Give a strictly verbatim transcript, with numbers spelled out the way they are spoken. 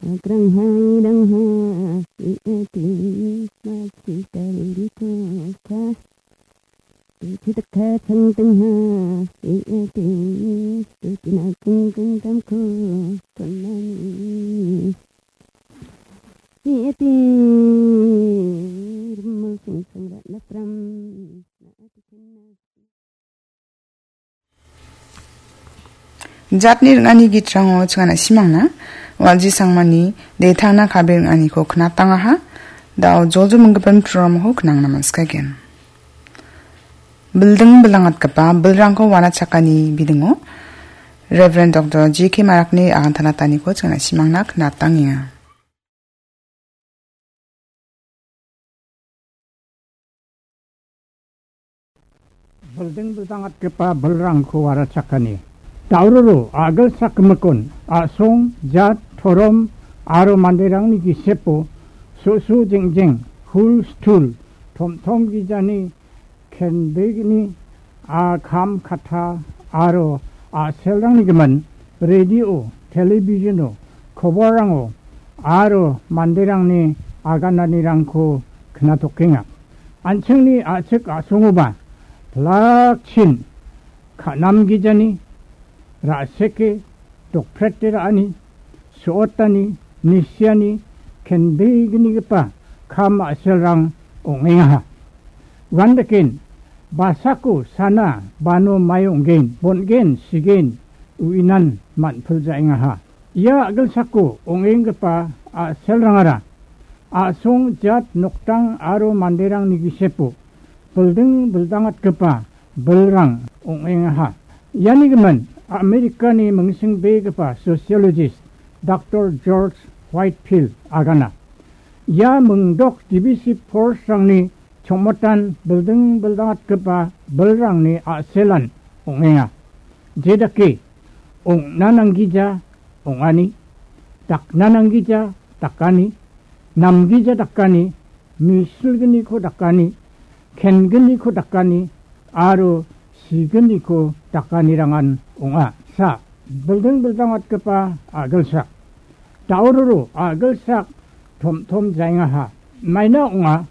Agrangha irangha, iati, masita ruriko ka. Tuchitaka changtengha, iati, tuchina kungkung tamko, konani. Iati, rimo sing sing ratna pram, na ati kenna. Jatni ring·ani gitrango chingana simangna, Walji Sangmani detangna kabe ring·aniko knatangaha, dao jojo minggipan programko knangna manskagen. Bilding bildangatgipa bilrangko wanachakani bidingo, Reverend Doctor J K Marakni agantanataniko chingana simangna knatangenga. Bilding bildangatgipa bilrangko warachakani. Daururu, a·gilsak gimikon, a·song, jat, torom, aro manderangni gisepo, so·so jengjeng, hul stul, tomtom gijani, kendegni, a, kam katha, aro a·selrangni gimin, radio, televisiono, koborrango, aro manderangni agananirangko knatokenga. An·chingni a·chik a·songoba, plakchin, ka·namgijani, ra·seke, dokprete ra·ani, so·otani, nisiani, kendegnigipa kam a·selrang ong·engaha. Uandaken, basako sana, bano mai ong·gen, bon·gen, sigen, uinan man·piljaengaha. Ia a·gilsako ong·enggipa a·selrangara, a·song jat noktang aro manderangni gisepo, bilding bildangatgipa bilrang ong·engaha. Iani gimin Amerikani mingsingbegipa sociologist Doctor George Whitefield agana. Ia mingdok D B C force-rangni chongmotan bilding bildangatgipa bilrangni a·selan ong·enga. Jedake ong·na nanggija ong·ani, dakna nanggija dakani, namgija dakani, misilgniko dakani, kengniko dakani, aro signiko dakanirangan ong·a. Sa, bilding bildangatgipa a·gilsak. Daururu a·gilsak tomtom jaengaha. Maina ong·a.